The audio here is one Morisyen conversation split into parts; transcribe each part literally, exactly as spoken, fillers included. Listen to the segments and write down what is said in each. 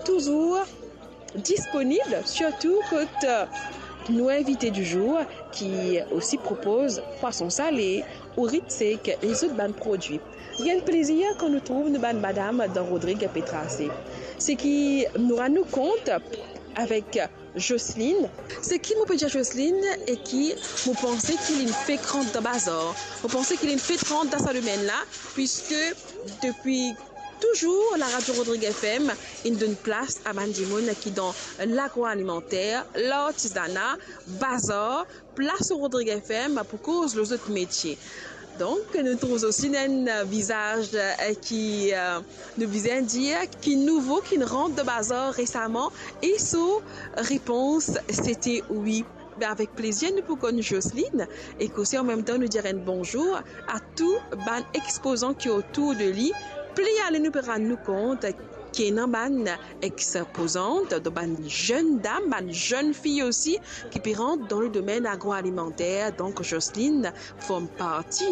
Touzour disponib, sirtou kot, euh, nou invite di zour ki osi propoz pwason sale, ourit sek, lezot bann prodwi. Li enn plezir kan nou trouv nou bann madam dan Rodrig pe trase. Seki nou rann nou kont avek Jocelyne. Seki mo pe dir Jocelyne e ki mo panse ki linn fek rant dan bazar. Mo panse ki linn fek rant dan sa domenn la, piske depi touzour, laradio Rodrig F M inn donn plas a bann dimoun ki dan lagroalimanter, lartizana, bazar, plas Rodrig F M pou koz lor zot metie. Donk, nou trouv osi enn vizaz, eh, ki, eh, nou bizin dir, ki nouvo, ki rant dan bazar resaman, e so repons, sete wi. Be, avek plezir, nou pou konn Jocelyne, e osi an mem tan, nou dir enn bonzour a tou bann expozan ki otour de li. Pli ale, nou pe rann nou kont ki ena bann expozan, donk bann zenn dam, bann zenn fi osi, ki pe rant dan le domenn agroalimanter. Donk, Jocelyne form parti.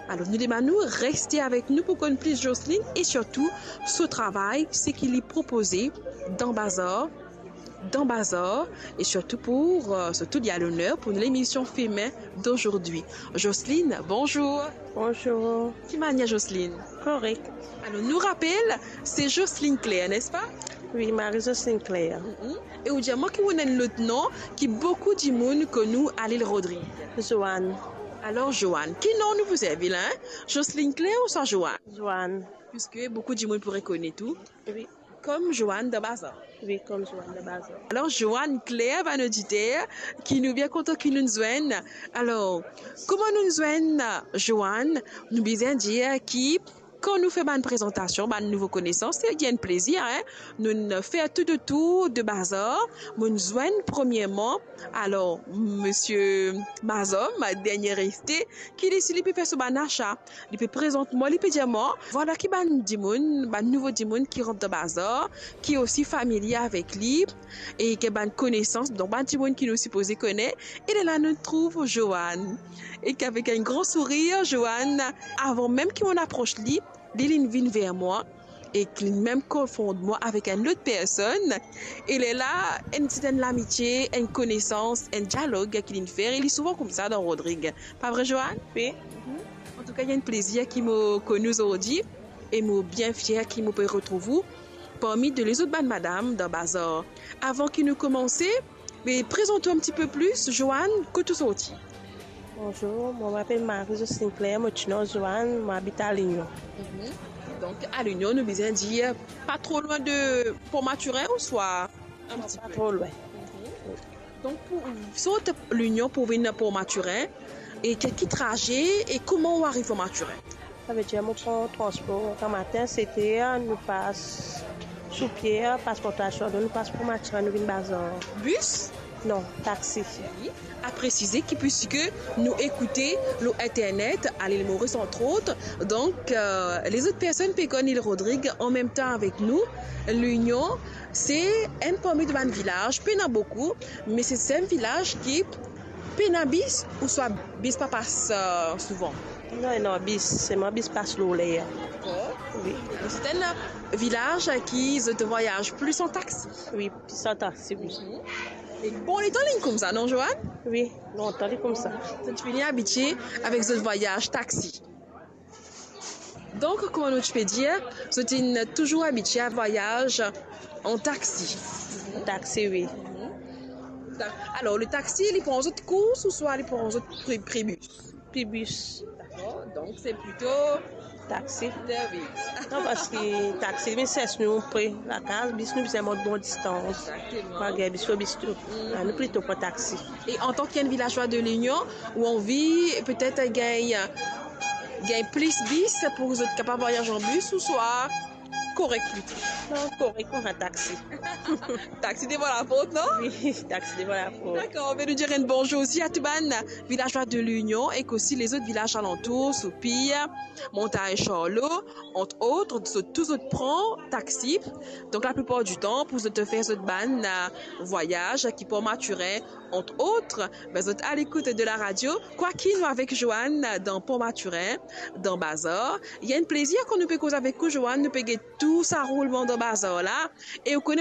Alor, nou demann ou reste avek nou pou konn plis Jocelyne e sirtou so travay, seki li propoze dan bazar, dan bazar, e sirtou pou, eh, sirtou li a loner pou lemision Femen d'Aujourd'hui. Jocelyne, bonzour. Bonzour. Ki manier, Jocelyne? Korek. Alor, nou rapel, se Jocelyne Claire, nespa? Wi, Marie Jocelyne Claire. Mhm. E ou dir mwa ki ou ena enn lot non ki boukou dimoun konn ou a lil Rodrig? Joanne. Alor, Joanne, ki non nou pou servi la, hein? Jocelyne Claire ouswa Joanne? Joanne. Piske boukou dimoun pou rekonet ou. Wi. Kom Joanne dan bazar. Wi, kom Joanne dan bazar. Alor, Joanne Claire, bann oditer, ki nou bien kontan ki nou'nn zwenn. Alor, kouma nou'nn zwenn Joanne? Nou bizin dir ki kan nou fer bann prezantasion, bann nouvo konesans, se enn plezir, hein. Nou'nn fer tou le tour de bazar. Mo'nn zwenn premierman, alor, misie Mazom, dernie reste, ki li osi li pe fer so bann asa. Li pe prezant mwa, li pe dir mwa, vwala ki bann dimoun, bann nouvo dimoun ki rant dan bazar, ki osi familie avek li, e ki ena bann konesans, donk bann dimoun ki nou sipoze kone, e lerla nou trouv Joanne. E ki avek enn gran sourir, Joanne, avan mem ki mo'nn apros li, li, linn vinn ver mwa, e ki linn mem konfond mwa avek enn lot personn, e lerla, enn ti enn lamitie, enn konesans, enn dialog ki linn fer, e li souvan koumsa dan Rodrig. Pa vre, Joanne? Wi. Antouka, li enn plezir ki mo konn ou zordi, e mo bien fier ki mo pe retrouv ou parmi de lezot bann madam dan bazar. Avan ki nou koumanse, be, prezant ou enn tipe plis, Joanne, kot ou sorti? Bonzour, mwa, mo apel Marie Jocelyne Claire, mo ti nom Joanne, mo abit a Linion. Mhm. Donk, a Linion, nou bizin dir, pa tro lwin de Port Mathurin, ouswa enn tipe? Non, pa tro lwin. Mhm. Donk, pou sort Linion pou vinn Port Mathurin, e ki, ki traze, e kouma ou ariv Port Mathurin? Savedir, mo pran transpor, gramatin, sete, nou pas sou pie, pas Port Mathurin, nou pas Port Mathurin, nou vinn bazar. Bis? Non, taxi. Wi. A presize ki, piske nou ekoute lor internet, a Lil Moris, entre autres, donk, euh, lezot personn pe konn Lil Rodrig an mem tan avek nou, Linion, se enn parmi de bann vilaz, pena boukou, me se, se enn vilaz ki pena bis, ouswa bis pa pas, euh, souvan? Non, non, bis, selman bis pas lor ler. Dakor. Wi. Se enn vilaz ki zot vwayaz plis an taxi? Wi, plis an taxi, wi. Mhm. E bon letan linn koumsa, non, Joanne? Wi, lontan li koumsa. Zot fini abitie avek zot vwayaz taxi. Donk, kouma nou ti pe dir, zot inn touzour abitie a vwayaz an taxi. Taxi, wi. Mhm. Alor, le taxi, li pran zot kous ouswa li pran zot pri-, pri bis? Pri bis. Dakor, donk se plito taxi. Taxi. Non, parski taxi, li vinn sers nou pre lakaz, bis nou bizin mont bon distans. Exactement. Malgre bis, fo bis tou. Mhm. Ah, nou plito pran taxi. E antan ki enn vilazwa de Linion, ou anvi petet gagn, gagn plis bis pou zot kapav vwayaz an bis, ouswa korek plito? Non, korek, ou pran taxi. Taxi devan laport, non? Wi, taxi devan laport. Dakor, be nou dir enn bonzour osi a tou bann vilazwa de Linion ek osi lezot vilaz alantour, Soupir, Montagne Charlot, entre autres, zot tou zot pran taxi. Donk, laplipar ditan, pou zot fer zot bann, euh, vwayaz ki Port Mathurin, entre autres, be, zot a lekout de la radio. Kwaki nou avek Joanne dan Port Mathurin, dan bazar. Li enn plezir kan nou pe koz avek ou, Joanne, nou pe get tou sa roulman dan bazar la. E ou kone